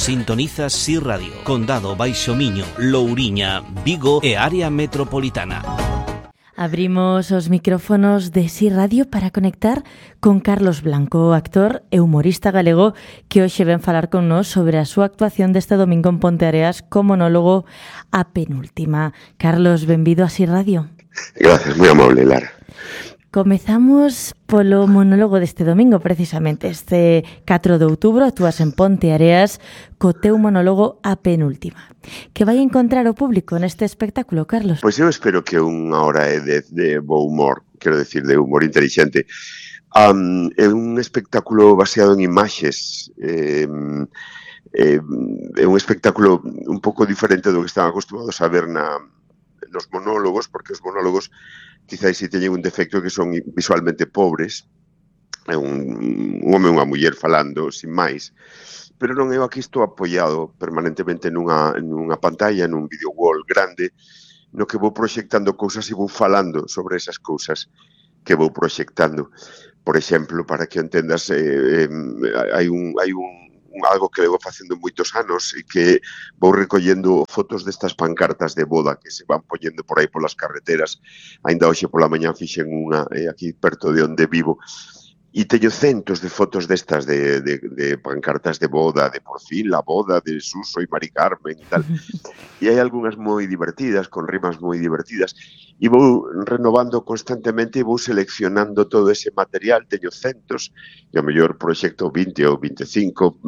Sintonizas Si Radio, Condado Baixo Miño, Louriña, Vigo e área metropolitana. Abrimos os micrófonos de Si Radio para conectar con Carlos Blanco, actor e humorista galego que hoxe ven falar con nós sobre a súa actuación deste domingo en Ponteareas co monólogo A Penúltima. Carlos, benvido a Si Radio. Gracias, moi amable, Lara. Comezamos polo monólogo deste domingo, precisamente. Este 4 de outubro actúas en Ponteareas co teu monólogo A Penúltima. Que vai encontrar o público neste espectáculo, Carlos? Pois eu espero que unha hora de bo humor, quero decir, de humor inteligente. É un espectáculo baseado en imaxes. É un espectáculo un pouco diferente do que están acostumados a ver nos monólogos, porque os monólogos quizás si teñen un defecto que son visualmente pobres, é un home e unha muller falando, sin máis, pero non, eu aquí estou apoiado permanentemente nunha pantalla, nun video wall grande, no que vou proxectando cousas e vou falando sobre esas cousas que vou proxectando. Por exemplo, para que entendas, hai algo que levo facendo moitos anos e que vou recollendo fotos destas pancartas de boda que se van poñendo por aí polas carreteras. Ainda hoxe pola mañá fixen unha aquí perto de onde vivo e teño centos de fotos destas de pancartas de boda, de por fin la boda de Suso e Mari Carmen e tal. E hai algunhas moi divertidas, con rimas moi divertidas, e vou renovando constantemente e vou seleccionando todo ese material, teño centos, e ao mellor proxecto 20 ou 25,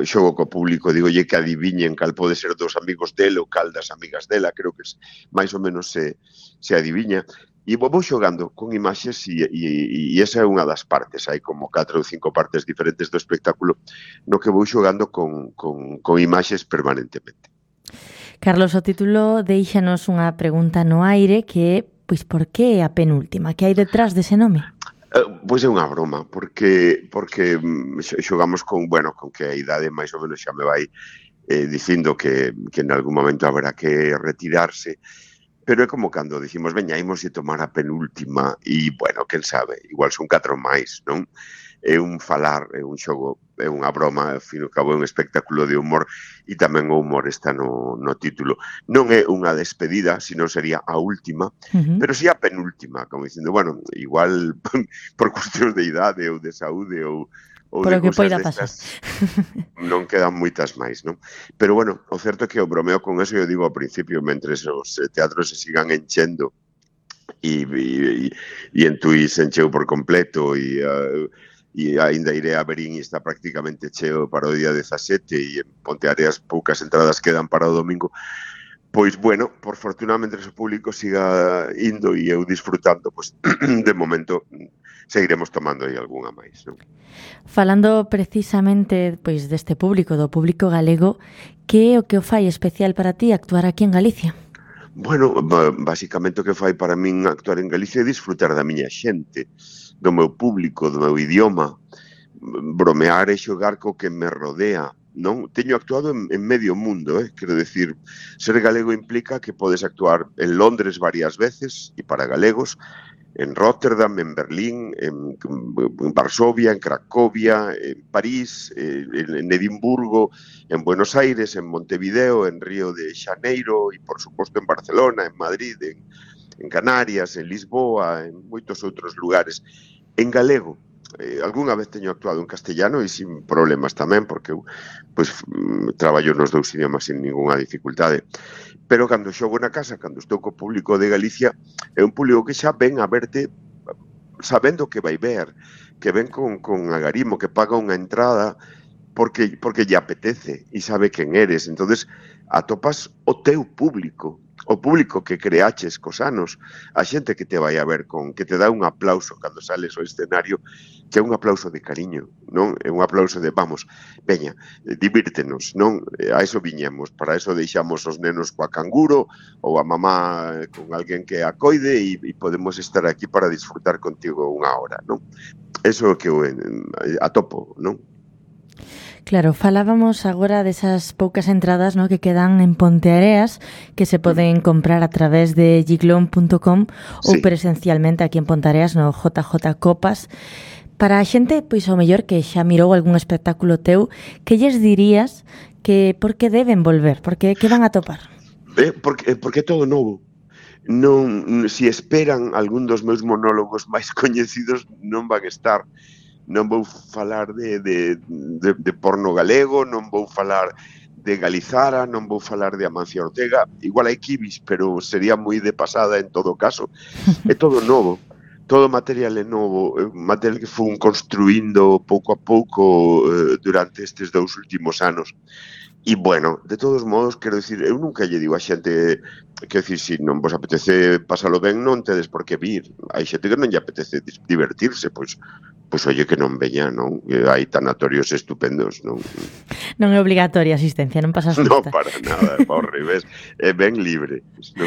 xogo co público, digolle que adiviñen cal pode ser dos amigos dele ou cal das amigas dela, creo que máis ou menos se adiviña. E vou xogando con imaxes e esa é unha das partes, hai como 4 ou 5 partes diferentes do espectáculo no que vou xogando con imaxes permanentemente. Carlos, o título deixanos unha pregunta no aire que é, pois, por que A Penúltima? Que hai detrás dese nome? Pois é unha broma, porque xogamos con que a idade máis ou menos xa me vai dicindo que en algún momento haberá que retirarse. Pero é como cando dicimos, veña, imos e tomar a penúltima e, quen sabe, igual son 4 máis, non? É un falar, é un xogo, é unha broma, ao fin e ao cabo é un espectáculo de humor e tamén o humor está no título. Non é unha despedida, senón sería a última, pero si a penúltima, como dicindo, igual por cuestións de idade ou de saúde ou por o que poida pasar. Non quedan moitas máis, non? Pero, o certo é que o bromeo con eso, eu digo ao principio, mentres os teatros se sigan enchendo e en Tui se encheu por completo e aínda iré a Verín e está prácticamente cheo para o día 17 e en Ponteareas poucas entradas quedan para o domingo. Pois, por fortuna, mentres o público siga indo e eu disfrutando, pois, de momento, seguiremos tomando aí algunha máis, non? Falando precisamente pois deste público, do público galego, que é o que o fai especial para ti actuar aquí en Galicia? Basicamente o que fai para min actuar en Galicia é disfrutar da miña xente, do meu público, do meu idioma, bromear e xogar co que me rodea. Non teño actuado en medio mundo, quero decir, ser galego implica que podes actuar en Londres varias veces e para galegos, en Rotterdam, en Berlín, en Varsovia, en Cracovia, en París, en Edimburgo, en Buenos Aires, en Montevideo, en Río de Xaneiro e, por suposto, en Barcelona, en Madrid, en Canarias, en Lisboa, en moitos outros lugares. En galego, algunha vez teño actuado en castellano e sin problemas tamén, porque eu traballo nos dous idiomas sin ninguna dificultade. Pero cando xogo na casa, cando estou co público de Galicia, é un público que xa ven a verte sabendo que vai ver, que ven con agarimo, que paga unha entrada porque lle apetece e sabe quen eres. Entonces atopas o teu público, o público que creaches cos anos, a xente que te vai a ver que te dá un aplauso cando sales ao escenario, que é un aplauso de cariño, non? É un aplauso de, veña, divírtenos, non? A eso viñemos, para eso deixamos os nenos coa canguro ou a mamá con alguén que a coide e podemos estar aquí para disfrutar contigo unha hora, non? Eso é o que eu atopo, non? Claro, falábamos agora desas poucas entradas, no, que quedan en Ponteareas, que se poden comprar a través de giglón.com ou presencialmente aquí en Ponteareas no JJ Copas. Para a xente, pois ao mellor que xa mirou algún espectáculo teu, que lles dirías que por que deben volver? Que van a topar? Porque é todo novo. Non, se esperan algún dos meus monólogos máis coñecidos, non van estar. Non vou falar de porno galego, non vou falar de Galizara, non vou falar de Amancio Ortega, igual hai kibis, pero sería moi de pasada en todo caso. É todo novo. Todo material é novo, material que fun construindo pouco a pouco durante estes 2 últimos anos. E, bueno, de todos modos, quero dicir, eu nunca lle digo a xente, quero dicir, se non vos apetece pasalo ben, non tedes por que vir. Hai xente que non lle apetece divertirse, pois oye, que non veña, non? Hai tanatorios estupendos, non? Non é obligatoria a asistencia, non pasas Non, lista. para nada, ao revés, é ben libre, non?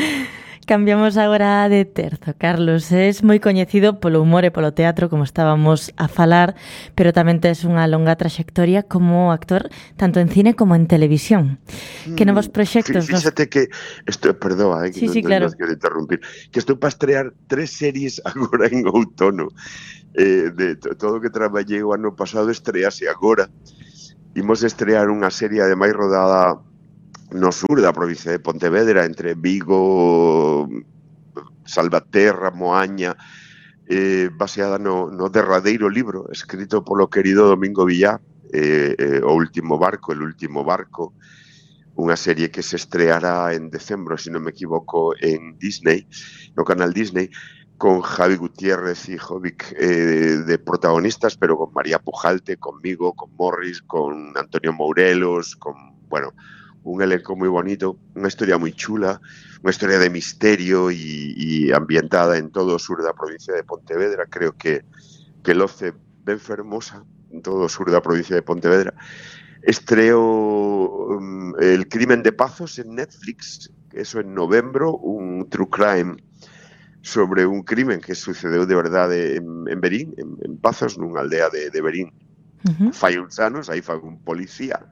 Cambiamos agora de terzo, Carlos. Es moi coñecido polo humor e polo teatro, como estábamos a falar, pero tamén tes unha longa traxectoria como actor, tanto en cine como en televisión. Que novos proxectos? Fíxate que, perdoa, que sí, claro. Non quero interrumpir, que estou para estrear 3 series agora en outono. De todo o que traballei o ano pasado estrease agora. Imos estrear unha serie ademais rodada no sur da provincia de Pontevedra, entre Vigo, Salvaterra, Moaña, baseada no derradeiro libro escrito polo querido Domingo Villar, O último barco, El último barco, unha serie que se estreará en decembro, se non me equivoco, en Disney, no canal Disney, con Javi Gutiérrez y Jovic de protagonistas, pero con María Pujalte, conmigo, con Morris, con Antonio Mourelos, con, bueno, un elenco moi bonito, unha historia moi chula, unha historia de misterio e ambientada en todo o sur da provincia de Pontevedra. Creo que loce ben fermosa en todo o sur da provincia de Pontevedra. Estreo El crimen de Pazos en Netflix, eso en novembro, un true crime sobre un crimen que sucedeu de verdade en Berín, en Pazos, nunha aldea de Berín. Fai uns anos, aí fai un policía.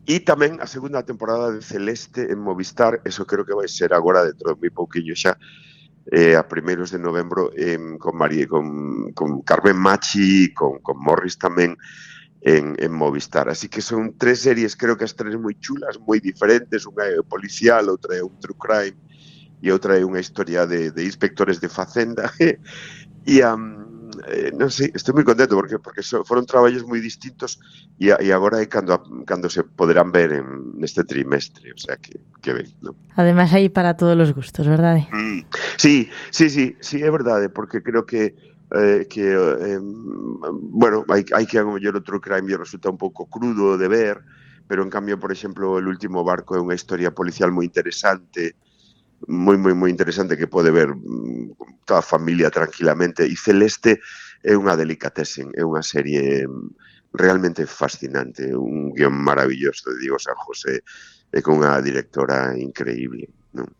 E tamén a segunda temporada de Celeste en Movistar, eso creo que vai ser agora dentro de moi pouquiño xa, a primeiros de novembro, con Carmen Machi, con Morris tamén en Movistar. Así que son 3 series, creo que as 3 moi chulas, moi diferentes, unha é policial, outra é un true crime e outra é unha historia de inspectores de Facenda. E non sei, estou moi contento porque foron traballos moi distintos e agora é cando se poderán ver neste trimestre, o sea que ben, non? Ademais hai para todos os gustos, verdade? Sí, é verdade, porque creo que bueno, hai que a mellor outro crime resulta un pouco crudo de ver, pero en cambio, por exemplo, El último barco é unha historia policial moi interesante, moi interesante, que pode ver toda a familia tranquilamente. E Celeste é unha delicatessen, é unha serie realmente fascinante, un guión maravilloso de Diego San José e con unha directora increíble, non?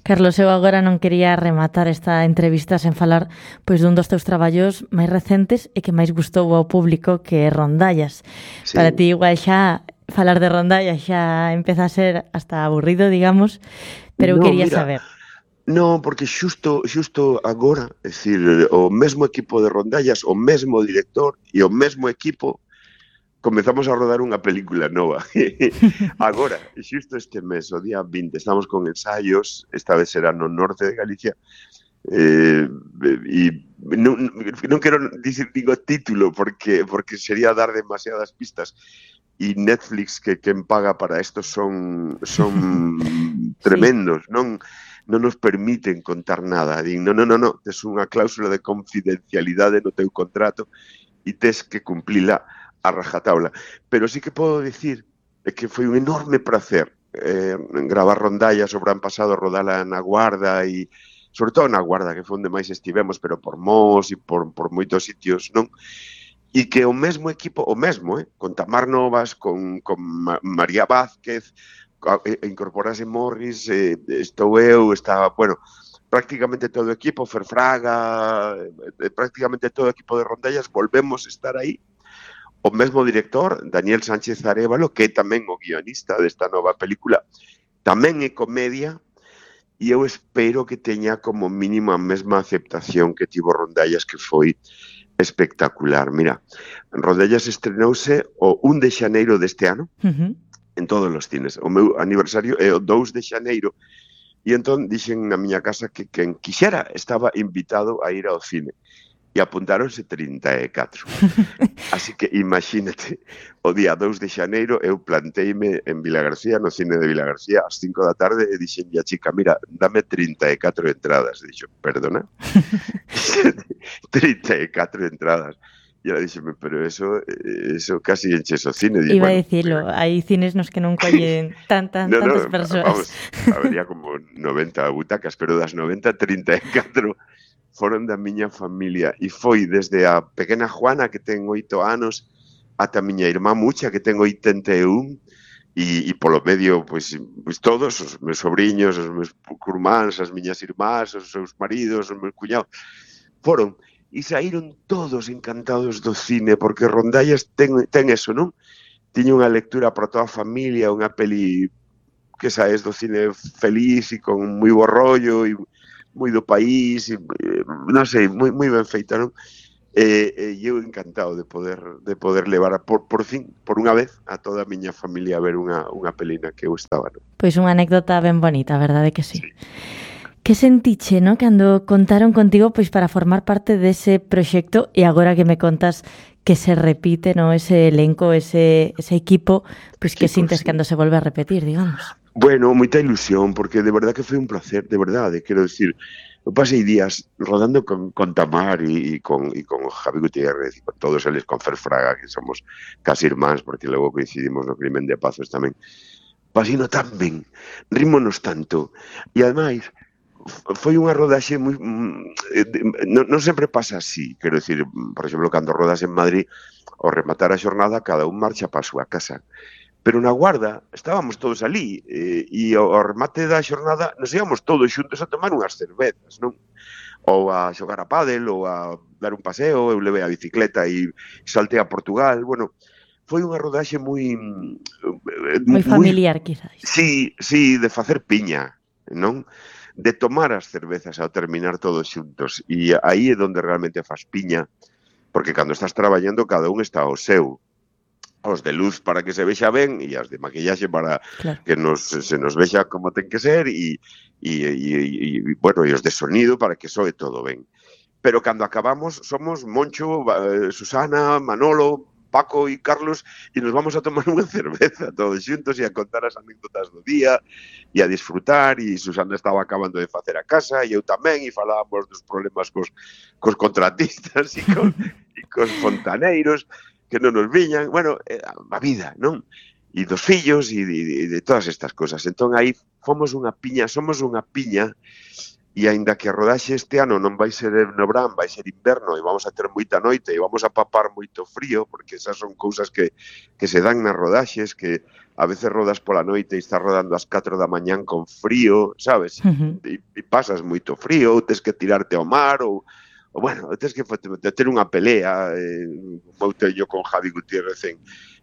Carlos, eu agora non quería rematar esta entrevista sen falar pois dun dos teus traballos máis recentes e que máis gustou ao público, que é Rondallas. Sí. Para ti igual xa falar de Rondallas xa empeza a ser hasta aburrido, digamos, pero eu quería saber. Non, porque xusto agora, é dicir, o mesmo equipo de Rondallas, o mesmo director e o mesmo equipo comezamos a rodar unha película nova. Agora, xusto este mes, o día 20, estamos con ensaios, esta vez será no norte de Galicia, e non quero dicir digo título porque sería dar demasiadas pistas, e Netflix, que quen paga para isto son tremendos, non nos permiten contar nada. Din, non, tes unha cláusula de confidencialidade no teu contrato e tes que cumplila a rajatabla. Pero sí que podo dicir que foi un enorme prazer gravar Rondallas, o verán pasado, rodala na Guarda e sobre todo na Guarda, que foi onde máis estivemos, pero por Mos e por moitos sitios, non? E que o mesmo equipo, con Tamar Novas, con María Vázquez, incorporase Morris, estou eu, bueno, prácticamente todo o equipo, Ferfraga, prácticamente todo o equipo de Rondallas, volvemos a estar aí. O mesmo director, Daniel Sánchez Arévalo, que é tamén o guionista desta nova película, tamén é comedia, e eu espero que teña como mínimo a mesma aceptación que tivo Rondallas, que foi espectacular. Mira, Rodellas estrenouse o 1 de xaneiro deste ano en todos os cines. O meu aniversario é o 2 de xaneiro e entón dixen na miña casa que quen quixera estaba invitado a ir ao cine. E apuntáronse 34. Así que imagínate, o día 2 de xaneiro eu planteime en Vilagarcía, no cine de Vilagarcía, ás 5 da tarde e dixen a chica, mira, dame 34 entradas. E dixo, perdona? 34 entradas. E ela dixeme, pero eso casi enches o cine. Digo, iba a dicirlo, hai cines nos que non collen tantas persoas. Vamos, habería como 90 butacas, pero das 90, 34 foron da miña familia e foi desde a pequena Juana que ten 8 anos ata a miña irmá Mucha que ten 81 e polo medio pois todos os meus sobriños, os meus curmáns, as miñas irmás, os seus maridos, os meus cuñados foron e saíron todos encantados do cine porque Rondallas ten eso, non? Tiña unha lectura para toda a familia, unha peli que saes do cine feliz e con moi bo rollo e moi do país, e, non sei, moi ben feita, non? E eu encantado de poder levar por fin, por unha vez, a toda a miña familia a ver unha pelina que eu estaba, non? Pois unha anécdota ben bonita, a verdade que sí. Que sentiche, no, cando contaron contigo pois para formar parte dese proxecto e agora que me contas que se repite, no, ese elenco, ese equipo, pois que sintes cando se volve a repetir, digamos? Bueno, moita ilusión, porque de verdad que foi un placer, de verdade, quero decir, eu pasei días rodando con Tamar e con Javi Gutiérrez, e con todos eles, con Fer Fraga, que somos casi irmáns, porque logo coincidimos no Crimen de Pazos tamén. Pasino tan ben, rímonos tanto, e ademais, foi unha rodaxe moi... non sempre pasa así, quero decir, por exemplo, cando rodas en Madrid, ao rematar a xornada, cada un marcha para a súa casa. Pero na Guarda estábamos todos ali e ao remate da xornada nos íamos todos xuntos a tomar unhas cervezas, non? Ou a xogar a pádel, ou a dar un paseo, eu levei a bicicleta e saltei a Portugal, bueno, foi unha rodaxe moi familiar, quizás. Sí, de facer piña, non? De tomar as cervezas ao terminar todos xuntos e aí é onde realmente faz piña, porque cando estás traballando cada un está ao seu. Os de luz para que se vexa ben e as de maquillaxe para que se nos vexa como ten que ser e bueno, e os de sonido para que soe todo ben. Pero cando acabamos somos Moncho, Susana, Manolo, Paco e Carlos e nos vamos a tomar unha cerveza todos xuntos e a contar as anécdotas do día e a disfrutar e Susana estaba acabando de facer a casa e eu tamén e falábamos dos problemas cos contratistas e cos fontaneiros que non nos viñan, bueno, a vida, non? E dos fillos e de todas estas cosas. Entón, aí somos unha piña, e aínda que a rodaxe este ano non vai ser no verán, vai ser inverno, e vamos a ter moita noite, e vamos a papar moito frío, porque esas son cousas que se dan nas rodaxes, que a veces rodas pola noite e estás rodando ás 4 da mañán con frío, sabes? E pasas moito frío, ou tes que tirarte ao mar, ou bueno, tens que ter unha pelea, eu teño con Javi Gutiérrez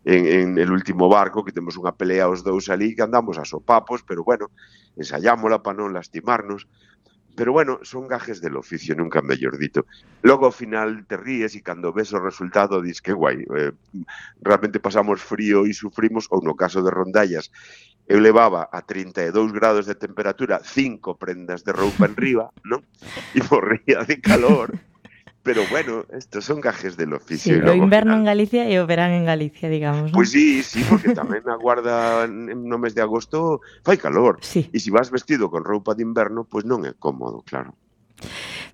en el último barco, que temos unha pelea os dous ali, que andamos a sopapos, pero bueno, ensayámola para non lastimarnos. Pero bueno, son gajes del oficio, nunca mellor dito. Logo ao final te ríes e cando ves o resultado dis que guai, realmente pasamos frío e sufrimos, ou no caso de Rondallas, eu levaba a 32 grados de temperatura 5 prendas de roupa en riba, non? E morría de calor. Pero bueno, estos son gajes del oficio. Sí, o inverno en Galicia e o verán en Galicia, digamos, non? Pois sí, porque tamén a Guarda no mes de agosto fai calor. Sí. E se vas vestido con roupa de inverno, pois non é cómodo, claro.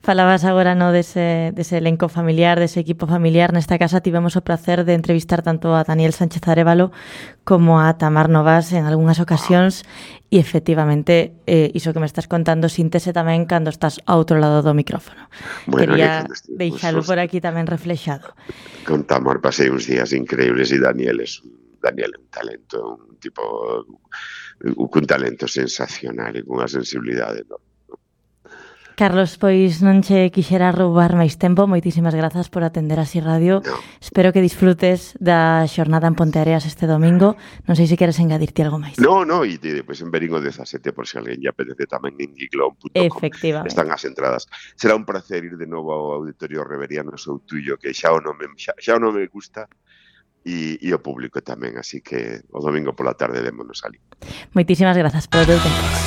Falabas agora, no, dese elenco familiar, dese equipo familiar. Nesta casa tivemos o placer de entrevistar tanto a Daniel Sánchez Arévalo como a Tamar Novas en algunhas ocasións e efectivamente iso que me estás contando síntese tamén cando estás ao outro lado do micrófono. Bueno, quería deixalo por aquí tamén reflexado. Con Tamar pasei uns días increíbles e Daniel é un talento, un tipo con talento sensacional e cunha sensibilidade enorme. Carlos, pois non che quixera roubar máis tempo. Moitísimas grazas por atender a Así Radio. No. Espero que disfrutes da xornada en Ponteareas este domingo. Non sei se queres engadirte algo máis. No, e depois en Verín o 17, por se alguén lle apetece tamén en giglón.com. Efectivamente. Están as entradas. Será un placer ir de novo ao Auditorio Reveriano Soutullo, que xa o nome me gusta, e o público tamén, así que o domingo pola tarde démonos ali. Moitísimas grazas polo teu tempo.